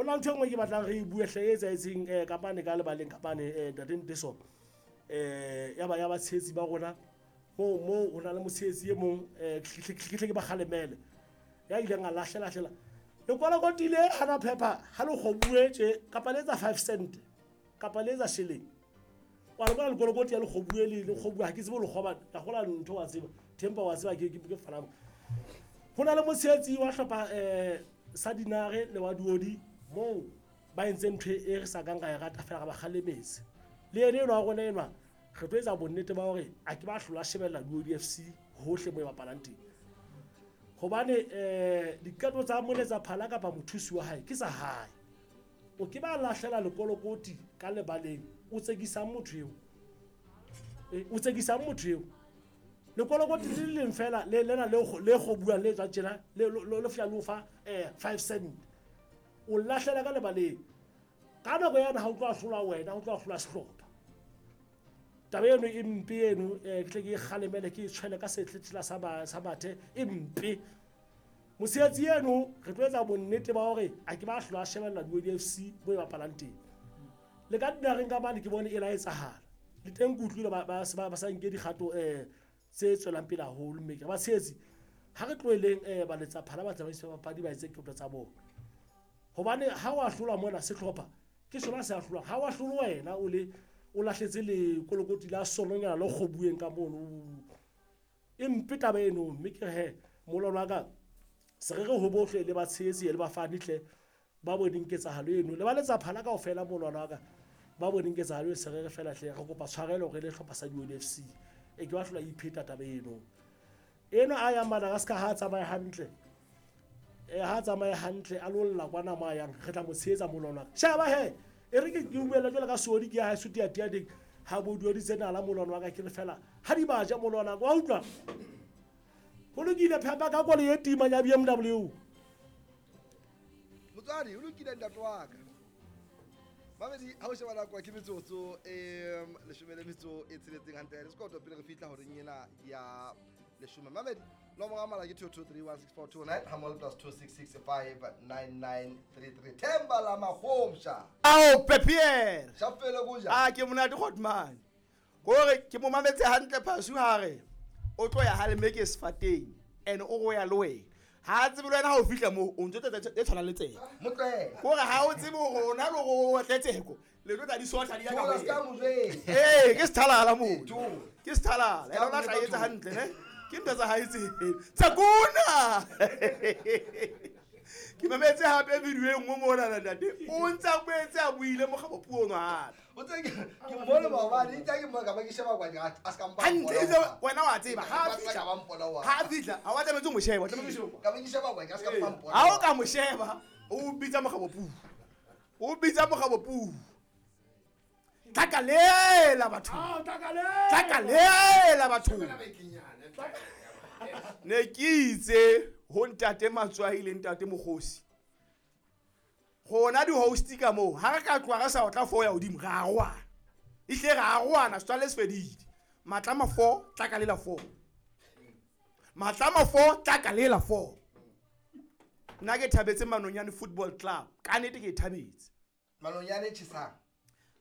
na ntho e nngwe ke batlang re e bue hle e etsahetseng kapane ka lebaleng kapane ntate Nteso, ya ba ya batshehetsi ba rona moo moo ho na le motshehetsi e mong, ke hle ke ba kgalemele, ya ileng a lahlela lekolokoti le hana phepha ha le kgobuwe tje, kapa le etsa 5 cent, kapa le etsa shilling. Wa le bona lekolokoti ya le kgobuwe, le kgobuwe, ha ke tsebe ho le kgoba ka gola ntho, wa tseba tempa, wa tseba ke fanang. Ho na le motshehetsi wa hlopha sa Dinare le wa Duodi moo ba entseng ntho e re sa kang ra e rata fela, re ba kgalemetse. Le ene enwa wa rona enwa, re tlo etsa bonnete ba hore a ke ba hlola shebella Duodi FC hohle mo e bapalang teng, hobane diqeto tsa moletsa phala kapa mothusi wa hae ke tsa hae. O ke ba lahlela lekolokoti ka lebaleng, o tsekisang motho eo, o tsekisang motho eo. Lekolokoti le leng fela le lena le kgobuwang, le tswang tjena, le fihla le o fa 5 cent, o lahlela ka lebaleng ka nako yana, ha o tlo ahlolwa wena, o tlo ahlolwa sehlopha. Taba eno e mpe eno, ke tle ke e kgalemele, ke e tshwele ka setletsela sa bathe, e mpe. Mosebetsi eno re tlo etsa bonnete ba hore a ke ba hlola shebella Duodi FC mo e bapalang teng. Le ka dinareng ka mane ke bone e la etsahala le teng, ke utlwile ba sa nke dikgato tse tswelang pele haholo. Mme ke re batshehetsi, ha re tloheleng baletsa phala, batsamaisi ba papadi ba etse qeto tsa bona, hobane ha o ahlolwa mona, sehlopha ke sona se ahlolwang. Ha o ahlolwe wena, o le o lahletse lekolokoti la sononyana le kgobuweng ka mono. E mpe taba eno. Mme ke re he, molwana wa ka, se re re ho bohle le batshehetsi le bafani hle ba boneng ketsahalo eno, le ba letsa phala kaofela, molwana wa ka, ba boneng ketsahalo eno, se re re fela hle, re kopa tshwarelo re le hlopha sa Duodi FC. E ke ba hlola ipheta taba eno. Eno a yang Madagascar, ha a tsamaye hantle, ha a tsamaye hantle, a lo lla kwana mo a yang, re tla mo tshehetsa, molwana wa ka. Sheba he, e re ke buela jwale ka seodi ke ya hae sutiatia teng ha bo duoditse nala, molwana wa ka, ke re fela ha di ba ja, molwana wa ka, wa utlwa? Ho lokile, phepa ka koloi e timang ya BMW. Motswadi, o lokile, ntate wa ka. Mamedi, ha o sheba nako ke metsotso e 16 hantle le sekoto pele re fihla horeng ena ya 10. Mamedi, nomoro ya mala ke 22316429 ha mole +266 59933. Themba la magomsha. Ao Pepier. Shafele kuja. A ke monate Godman. Kore ke mo mametse hantle phasu hare. O tlo ya ha le meke sefateng and o go ya le wena. Ha tsebe le wena ha o fihla moo o ntse tse tshwana le tsela. Motlwela. Kore ha o tsebe hore o na le hore o tletseko. Le tlo tla di sotla di ya ka. Thola ska mo jwetsa. Eh, ke sethalala moo. Thola. Ke sethalala. Ska Ena o mo tla jwetsa etsa thola. hantle ne. Ke ntho tsa hae tse. Tsakuna. Ke mametse hape video e nngwe mona na ntate. O ntse a boetse a buile mokgabo puo ono hape. O tse ke mmone maobane, itse ke mmone ka ba ke sheba kwa a ska mpa. Hantle itse wena wa tseba ha Ba fihla. ka ba mpona wa. Ha fihla, ha wa tlametse ho mo sheba, o tlametse ho sheba. Ka ba ke sheba kwa a ska mpa mpona. Ha o ka mo sheba, o bitsa mokgabo puo. O bitsa mokgabo puo. Tlakalela batho. Ah, tlakalela. Tlakalela batho. Ne ke itse ho ntate Matswai le ntate Mokgosi. Rona di-host ka moo, ha re ka tloha re sa otla 4 ya hodimo, re a roana. Ehlile re a roana, setswalle se fedile. Matlama 4, tlakalela 4. Matlama 4, tlakalela 4. Nna ke thabetse Manonyane Football Club. Ka nnete ke e thabetse. Manonyane e tjhesang.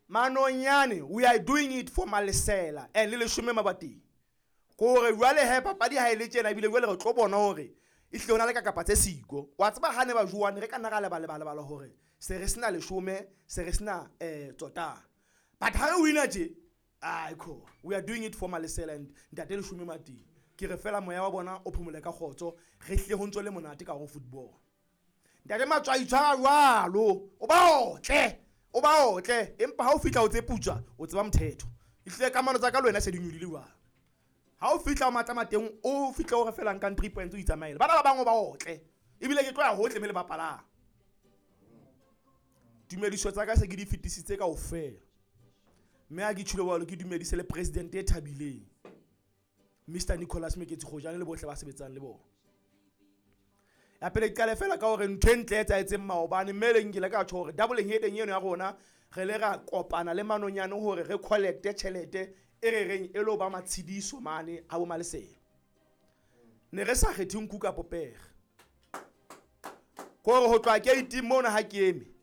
Manonyane, we are doing it for Malesela and le leshome mabateng. Kore jwale he papadi ha e le tjena, ebile jwale re tlo bona hore ehlile ho na le ka kapa tse siko. Wa tseba ha ne ba jowane, re ka nna ra lebala hore se re sena leshome, se re sena tsotang. But ha re wina tje, ai ko, we are doing it for Malesela and ntate Leshome Mateng. Ke re fela moya wa bona o phomole ka kgotso, re hle ho ntso le monate ka ho football. Ntate Matswai, tshwara jwalo, o ba otle, o ba otle, empa ha o fihla o tse putswa, o tseba mothetho. Ehlile kamano tsa ka le wena se di nyolile jwalo. Ha o fihla o matla mateng, o fihla o re felang ka 3 points o itsamaele. Bana ba bang o ba otle. Ebile ke tlo ya hohle me le bapalang. Tumediso tsa ka se ke di fetisitse kaofela. Mme ha ke tjhilo jwalo, ke dumedise le president e thabileng, Mr Nicholas Meketsi Kgojane le bohle ba sebetsang le bona. Ya pele ke qale fela ka hore ntho e ntle e etsahetseng maobane, mme le nkile ka tjho hore double heading eno ya rona re le ra kopana le Manonyane hore re collecte tjhelete e re reng e lo ba matshidiso mane a bo Malesela. Ne re sa kgethe nku ka popere. Kore ho tloha gate mona ha ke eme.